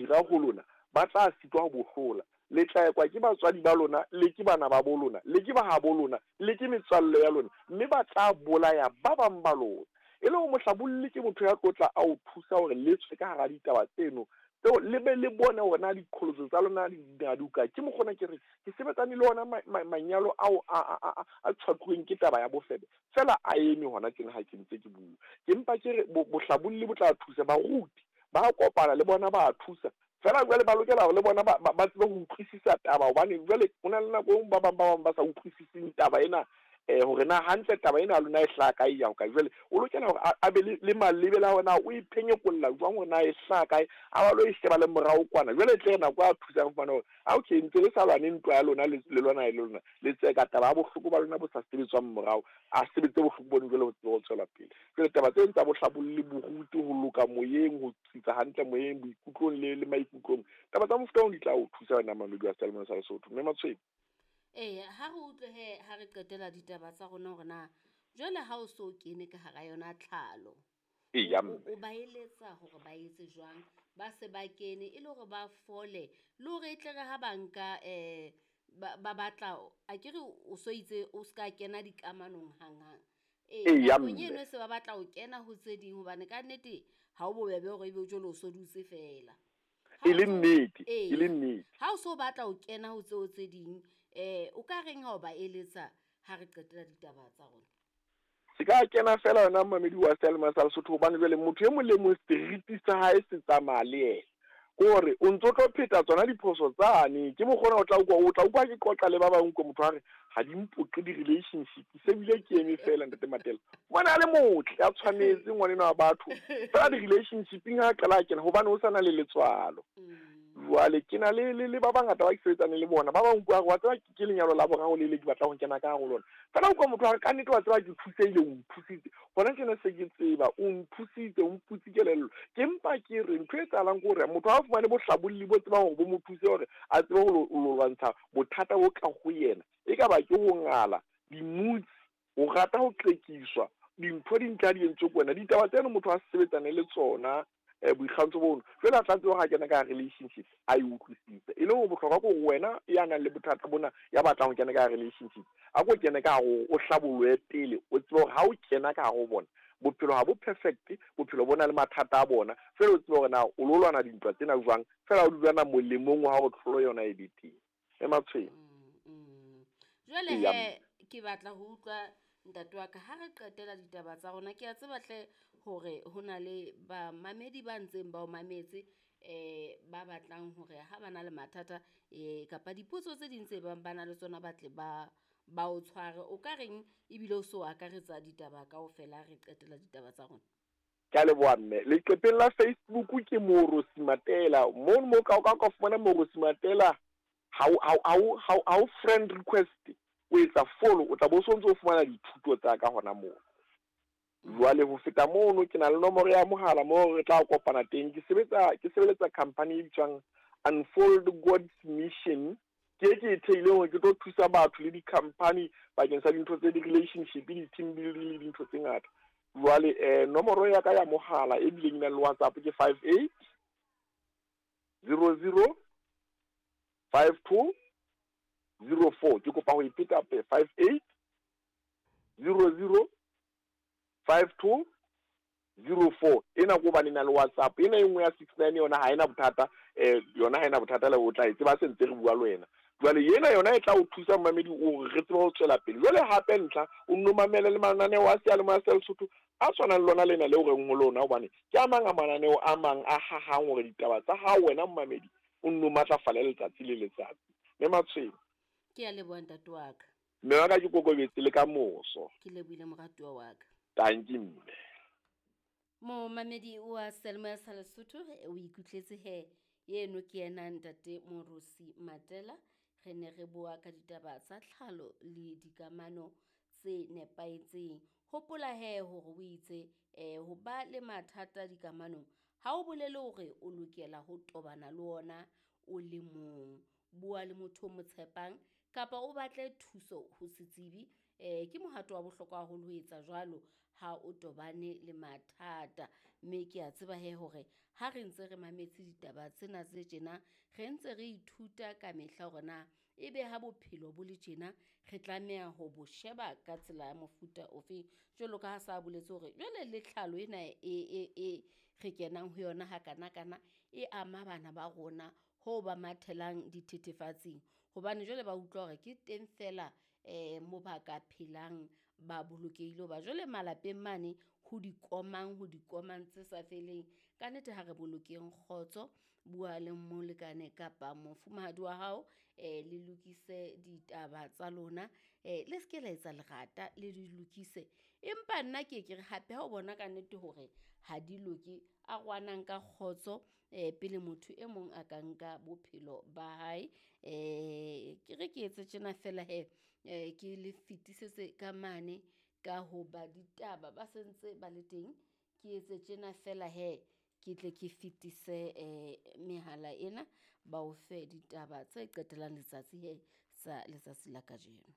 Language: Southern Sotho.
dira ho lona, ba tla sitwa ho bo hlola. Le tla ekwa ke batswadi ba lona, le ke bana ba bo lona, le ke ba habo lona, le ke metswalle ya lona, mme ba tla bolaya ba bang ba lona. E le hore mohlabolli ke motho ya tlo tla a o thusa hore le tswe ka hara ditaba tseno tseo, le be le bone hore na diqholotso tsa lona di na di hokae. Ke mokgwa ona ke re ke sebetsane le ona manyalo ao a tshwakuweng ke taba ya bofebe, feela a eme hona tjena ha ke ntse ke bua. Ke mpa ke re bohlabolli bo tla thusa, baruti ba kopana le bona ba thusa. Feela jwale ba lokela hore le bona ba tsebe ho utlwisisa taba, hobane jwale ho na le nako e nngwe ba bang ba sa utlwisising taba ena, hore na hantle taba ena ya lona e hlaha kae, ya hokae. Jwale o lokela hore a be le malebela hore na o e phenyekolla jwang, hore na e hlaha kae, a ba lo e sheba le morao kwana. Jwale e tle re nako a thusang fumana hore a okay, ntse le sa lwane ntwa ya lona, le lwana le lona, le tseka taba ya bohloko ba lona bo sa sebetswang morao, a sebetse bohloko bono jwale ho tsebe ho tswela pele. Jwale taba tseno tsa bohlabolli, boruti, ho loka moyeng, ho tsitsa hantle moyeng, boikutlong le maikutlong, taba tsa mofuta ono di tla o thusa wena mamedi wa Seyalemoya sa Lesotho. Mme Matshweng. Ee, ha re utlwe he ha re qetela ditaba tsa rona hore na jwale ha o so kene ka hara yona tlhalo, o ba eletsa hore ba etse jwang, ba se ba kene e le hore ba fole, le hore e tle re ha ba nka ba batla, a ke re o so itse o ska kena dikamanong hanghang. Ee, nakong eno se ba batla ho kena ho tse ding, hobane ka nnete ha o bobebe hore ebe jwale o so dutse fela. E le nnete, e le nnete. Ha o so batla ho kena ho tseo tse ding, o ka reng ha o ba eletsa ha re qetela ditaba tsa rona? Se ka kena fela yona mamedi wa Seyalemoya sa Lesotho, hobane jwale motho e mong le mong seriti sa hae se tsamaya le yena. Ke hore o ntso tlo pheta tsona diphoso tsane, ke mokgwa ona o tla utlwa ke qoqa le ba bang, utlwe motho a re ha di mpoqe di-relationship, se bile ke eme fela ntate Matela. Ngwana a le motle, a tshwanetse ngwanenwa wa batho, fela di-relationshipeng ha qala a kena hobane o sa na le letswalo. Jwale ke na le ba bangata ba ke sebetsaneng le bona, ba bang utlwa wa tseba ke lenyalo la boraro le le ke batlang ho kena ka hare ho lona. Fela utlwa motho a re ka nnete wa tseba ke thusehile, o nthusitse. Hona tjena se ke tseba, o nthusitse, o mputse kelello. Ke mpa ke re ntho e etsahalang ke hore motho ha a fumane bohlabolli bo tsebang hore bo mo thuse hore a tsebe ho lwantsha bothata bo ka ho yena. E ka ba ke ho ngala, dimutsi, ho rata ho qekiswa, dintho di ntla di entswe ke wena. Ditaba tseno motho a sebetsane le tsona, boikgantsho bono. Jwale a tla tseba ha kena ka relationship, a e utlwisise. E le hore bohlokwa ke hore wena ya nang le bothata bona, ya batlang ho kena ka relationship, a ko kene ka hare, o hlabollohe pele, o tsebe hore ha o kena ka hare ho bona, bophelo ha bo perfect, bophelo bo na le mathata a bona. Fela o tsebe hore na o lo lwana dintwa tsena jwang, fela o dula molemong wa hore tlholo yona e be teng. E Matshweng. Jwale he ke batla ho utlwa ntate wa ka ha re qetela ditaba tsa rona. Ke a tseba hle hore ho na le bamamedi ba ntseng ba o mametse, ba batlang hore ha ba na le mathata, kapa dipotso tse ding tse bang ba na le tsona ba tle ba o tshware. O ka reng ebile o so akaretsa ditaba kaofela re qetela ditaba tsa rona? Ke a leboha mme. Leqepheng la Facebook ke Moorosi Matela. Mono mo ka ka fumana Moorosi Matela, ha o friend request, o etsa follow, o tla bo so ntse o fumana dithuto tsa ka hona moo. Jwale ho feta mono ke na le nomoro ya mohala moo re tla kopana teng. Ke sebeletsa company e bitswang Unfold God's Mission. Ke ke e theileng hore ke tlo thusa batho le di-company bakeng sa dintho tse di-relationship, di-team building le dintho tse ngata. Jwale nomoro ya ka ya mohala e bileng e na le WhatsApp ke 58 00 52 04. Ke kopa ho e pheta hape, 58 00 52 04. Ena ke hobane e na le WhatsApp. Ena e nngwe ya 69 yona ha ena bothata, yona ha ena bothata le o tla e tseba se ntse re bua le wena. Jwale ena yona e tla o thusa momamedi hore re tsebe ho tswela pele. Jwale hape ntlha o nno mamele le mananeo a Seyalemoya sa Lesotho a tshwanang le lona lena leo reng ho lona, hobane ke a mang a mananeo a mang a hahang hore ditaba tsa hao wena momamedi o nno matlafale letsatsi le letsatsi. Mme Matshweng. Ke a leboha ntate wa ka. Mme wa ka ke kokobetse le ka moso. Ke lebohile moratuwa wa ka. Tanki mme. Momamedi wa Seyalemoya sa Lesotho, o ikutletse he eno ke yena ntate Moorosi Matela. Re ne re bua ka ditaba tsa tlhalo le dikamano tse nepahetseng. Hopola he hore o itse, ho ba le mathata dikamanong ha o bolele hore o lokela ho tobana le ona o le mong. Bua le motho o mo tshepang kapa o batle thuso ho setsebi. Ke mohato wa bohlokwa haholo ho etsa jwalo. ha o tobane le mathata. Mme ke a tseba he hore ha re ntse re mametse ditaba tsena tse tjena, re ntse re ithuta ka mehla hore na ebe ha bophelo bo le tjena re tlameha ho bo sheba ka tsela ya mofuta ofeng. Jwalo ka ha sa boletse hore jwale le tlhalo ena e re kenang ho yona hakanakana e ama bana ba rona ho ba mathelang dithethefatsing. Hobane jwale ba utlwa hore ke teng fela mo ba ka phelang ba bolokehile hoba jwale malapeng mane ho dikomang tse sa feleng. Ka nnete ha re bolokeng kgotso, bua le molekane kapa mofumahadi wa hao le lokise ditaba tsa lona, le seke la etsa lerata le di lokise. Empa nna ke ke re hape ha o bona ka nnete hore ha di loke, arohanang ka kgotso pele motho e mong a ka nka bophelo ba hae. Ke re ke etse tjena fela he, ke le fetisetse ka mane ka hoba ditaba ba sentse ba le teng. Ke etse tjena fela he, ke tle ke fetise mehala ena ba o fe ditaba tse qetellang letsatsi he tsa letsatsi la kajeno.